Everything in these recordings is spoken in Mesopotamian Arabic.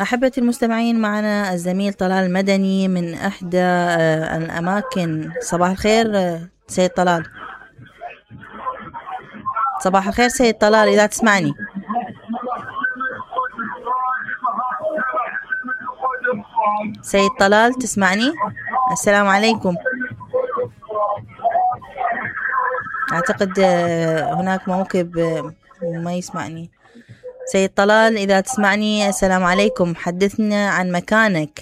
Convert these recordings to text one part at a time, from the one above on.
أحبتي المستمعين، معنا الزميل طلال المدني من إحدى الأماكن. صباح الخير سيد طلال. صباح الخير سيد طلال، إذا تسمعني. سيد طلال تسمعني؟ السلام عليكم. أعتقد هناك موكب ما يسمعني. سيد طلال إذا تسمعني، السلام عليكم، حدثنا عن مكانك.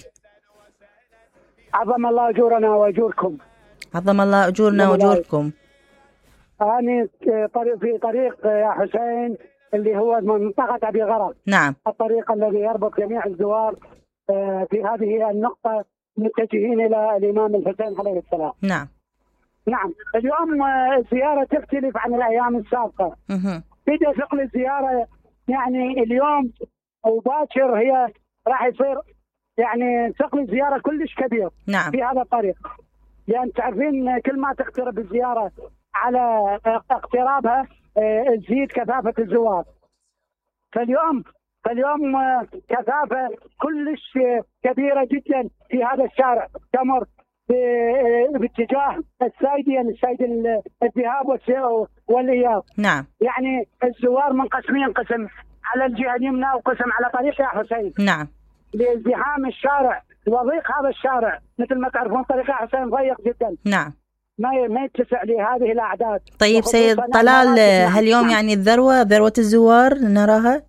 عظم الله أجورنا وأجوركم. عظم الله أجورنا وأجوركم. أنا في طريق يا حسين اللي هو منطقة أبي غرب. نعم. الطريق الذي يربط جميع الزوار في هذه النقطة متجهين إلى الإمام الحسين عليه السلام. نعم. نعم. اليوم الزيارة تختلف عن الأيام السابقة. بدأ ثقل الزيارة يعني اليوم وباكر هي راح يصير يعني ثقل الزيارة كلش كبير. نعم. في هذا الطريق، لأن تعرفين كل ما تقترب الزيارة على اقترابها تزيد كثافة الزوار. فاليوم كثافة كلش كبيرة جدا في هذا الشارع تمر باتجاه السايدي الذهاب والإياب. نعم. يعني الزوار منقسمين، قسم على الجهة اليمنى وقسم على طريق يا حسين. نعم. لازدحام الشارع وضيق هذا الشارع، مثل ما تعرفون طريق يا حسين ضيق جدا. نعم. ما يتسع لهذه الأعداد. طيب سيد طلال، هاليوم يعني ذروة الزوار نراها؟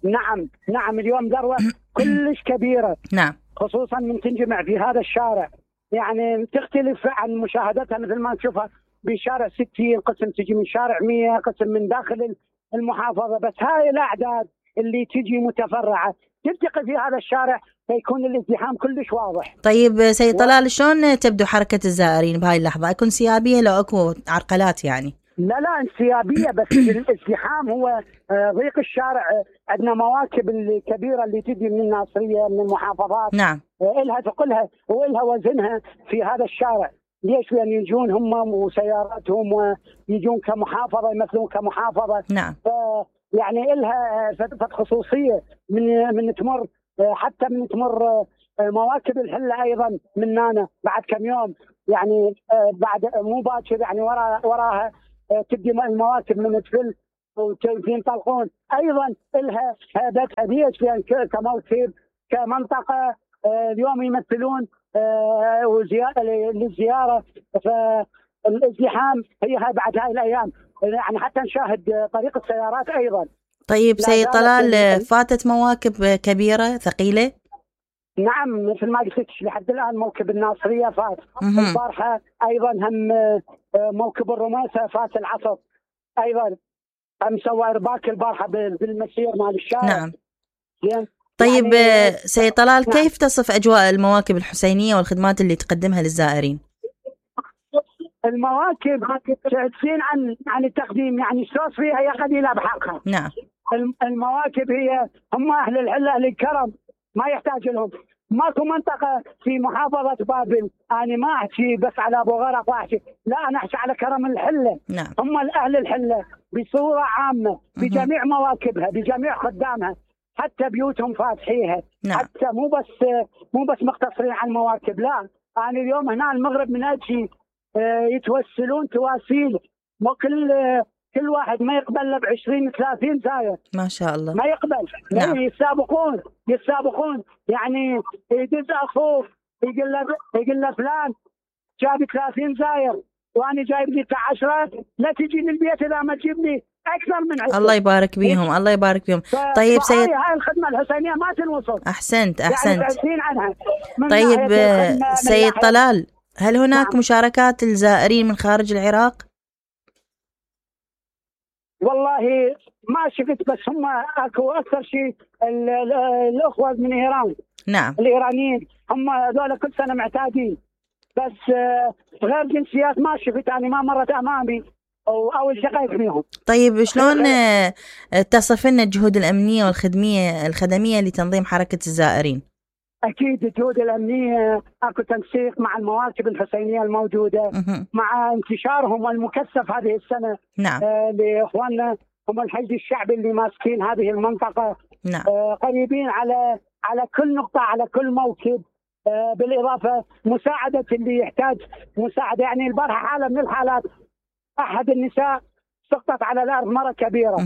نعم اليوم ذروة كلش كبيرة. نعم. خصوصا من تنجمع في هذا الشارع، يعني تختلف عن مشاهدتها مثل ما نشوفها بشارع 60 قسم تجي من شارع 100 قسم من داخل المحافظة. بس هاي الأعداد اللي تجي متفرعة تلتقي في هذا الشارع فيكون الازدحام كلش واضح. طيب سيد طلال، شلون تبدو حركة الزائرين بهاي اللحظة؟ أكون سيابية لو أكو عرقلات يعني؟ لا انسيابية، بس الازدحام هو ضيق الشارع. عندنا مواكب الكبيرة اللي تجي من الناصرية من المحافظات. نعم. إلها ثقلها وإلها وزنها في هذا الشارع. ليش؟ لأن يجون هم وسياراتهم ويجون كمحافظة، يمثلون كمحافظة. نعم. يعني إلها خصوصية من تمر، حتى من تمر مواكب الحلة أيضا مننا بعد كم يوم، يعني بعد مو باكر يعني وراها تبدي المواكب من تفل وينطلقون. أيضا إلها هيبتها ليش؟ لأن كموكب كمنطقة اليوم يمثلون للزيارة. فالازدحام هي بعد هاي الأيام يعني حتى نشاهد طريق السيارات أيضا. طيب سيد طلال، فاتت مواكب كبيرة ثقيلة؟ نعم مثل ما قلت لحد الآن موكب الناصرية فات. البارحة أيضا هم موكب الرماسة فات العصر أيضا. هم سوى إرباك البارحة بالمسير مال الشارع. نعم. طيب يعني سيد طلال، نعم. كيف تصف أجواء المواكب الحسينية والخدمات اللي تقدمها للزائرين؟ المواكب تعتسين عن التقديم، يعني الشوص فيها هي قليلة بحقها. نعم. المواكب هي هم أهل الحلة أهل الكرم، ما يحتاج لهم. ماكو منطقة في محافظة بابل، أنا ما أحكي بس على أبو غرق وأحكي، لا أنا أحكي على كرم الحلة. نعم. هم أهل الحلة بصورة عامة بجميع مواكبها بجميع خدامها، حتى بيوتهم فاتحيها. نعم. حتى مو بس مقتصرين على المواكب، لا أنا اليوم هنا المغرب من أجي يتوسلون تواسيل، كل واحد ما يقبل له ب20 30 زاير. ما شاء الله. ما يقبل. نعم. يتسابقون يعني يدز اخوه يقول له فلان جاب 30 زاير وانا جايب لي 10، لا تجي للبيت اذا ما تجيب لي اكثر من 10. الله يبارك بيهم. الله يبارك بيهم. طيب سيد، هاي الخدمه الحسينيه ما تنوصل. احسنت. يعني عنها. طيب سيد طلال، هل هناك نعم. مشاركات الزائرين من خارج العراق؟ والله ما شفت، بس هم اكو اكثر شيء الاخوه من ايران. نعم. الايرانيين هم هذول كل سنه معتادين، بس غير جنسيات ما شفت، يعني ما مرت امامي او التقيت فيهم. طيب شلون تصف لنا الجهود الامنيه والخدميه لتنظيم حركه الزائرين؟ اكيد الجهود الامنيه اكو تنسيق مع المواكب الحسينيه الموجوده، مع انتشارهم المكثف هذه السنه. نعم. لاخواننا هم الحشد الشعبي اللي ماسكين هذه المنطقه نعم. قريبين على كل نقطة، على كل موكب. بالإضافة مساعدة اللي يحتاج مساعدة. يعني البارحة حالة من الحالات أحد النساء سقطت على الأرض مرة كبيرة،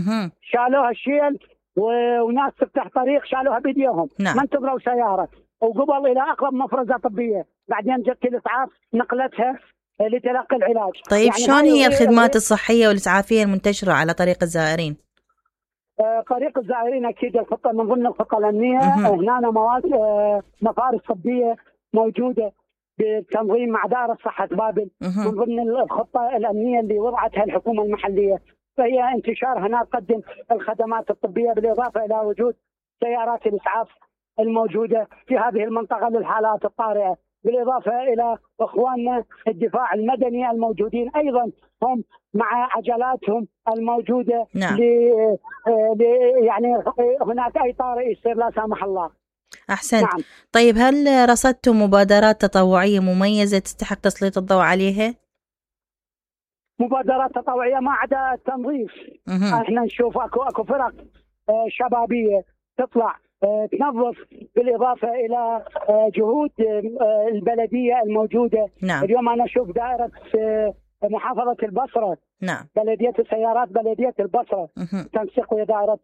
شالوها الشيل وناس تفتح طريق شالوها بيديهم. نعم. ما انتظروا سيارة، وقبل إلى أقرب مفرزة طبية، بعدين جت الإسعاف نقلتها لتلقي العلاج. طيب يعني شلون هي الخدمات الصحية والإسعافية المنتشرة على طريق الزائرين؟ طريق الزائرين أكيد الخطة من ضمن الخطة الأمنية. هنا مفارس طبية موجودة بالتنظيم مع دائرة صحة بابل من ضمن الخطة الأمنية اللي وضعتها الحكومة المحلية. فهي انتشار هنا تقدم الخدمات الطبية، بالإضافة إلى وجود سيارات الإسعاف الموجودة في هذه المنطقة للحالات الطارئة، بالإضافة إلى إخواننا الدفاع المدني الموجودين أيضا هم مع عجلاتهم الموجودة. نعم. يعني هناك أي طارئ يصير لا سامح الله. أحسنت. نعم. طيب هل رصدتم مبادرات تطوعية مميزة تستحق تسليط الضوء عليها؟ مبادرات تطوعية ما عدا التنظيف. احنا نشوف اكو فرق شبابية تطلع تنظف، بالإضافة إلى جهود البلدية الموجودة. نعم. اليوم أنا أشوف دائرة محافظة البصرة. نعم. بلدية السيارات بلدية البصرة تنسق ويا دائرة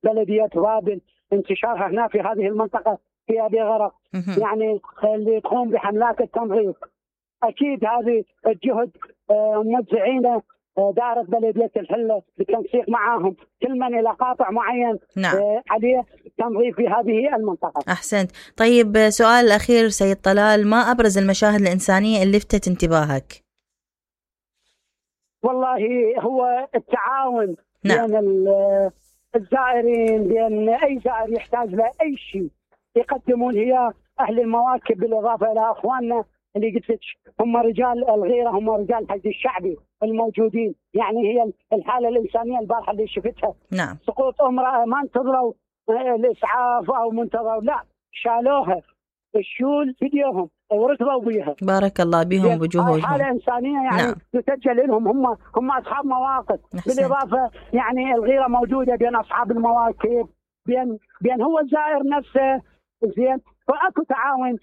بلدية بابل، انتشارها هنا في هذه المنطقة في أبي غرق. يعني اللي تقوم بحملات التنظيف أكيد هذه الجهد موزعينه دائرة بلدية الحلة بالتنسيق معاهم، كل من إلى قاطع معين. نعم. عليه تنظيف في هذه المنطقة. أحسنت. طيب سؤال الأخير سيد طلال، ما أبرز المشاهد الإنسانية اللي لفتت انتباهك؟ والله هو التعاون. نعم. بين الزائرين، بين أي زائر يحتاج لأي شيء يقدمون هي أهل المواكب، بالإضافة إلى أخواننا اللي قلت لك هم رجال الغيرة، هم رجال الحشد الشعبي الموجودين. يعني هي الحالة الإنسانية البارحة اللي شفتها. نعم. سقوط امرأة ما انتظروا الإسعاف أو منتظروا، لا شالوها الشول فيديوهم وركضوا بيها. بارك الله بهم بجهودهم. حالة إنسانية يعني. نعم. تسجل لهم، هم أصحاب مواقف. بالإضافة يعني الغيرة موجودة بين أصحاب المواكب، بين هو الزائر نفسه. زين، فأكو تعاون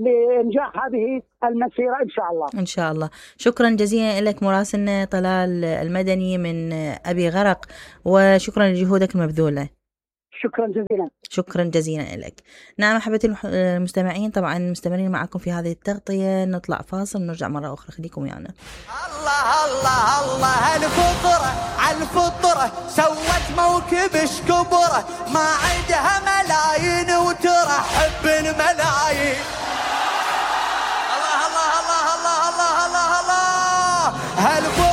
لإنجاح هذه المسيرة إن شاء الله. إن شاء الله. شكرا جزيلا لك مراسلنا طلال المدني من أبي غرق، وشكرا لجهودك المبذولة. شكرا جزيلا. شكرا جزيلا لك. نعم أحبتي المستمعين، طبعا مستمرين معكم في هذه التغطية. نطلع فاصل ونرجع مرة أخرى، خليكم ويانا. الله الله الله الفطرة على الفطرة سوت موكبش كبرة، ما عندها ملايين وترحب بالملايين.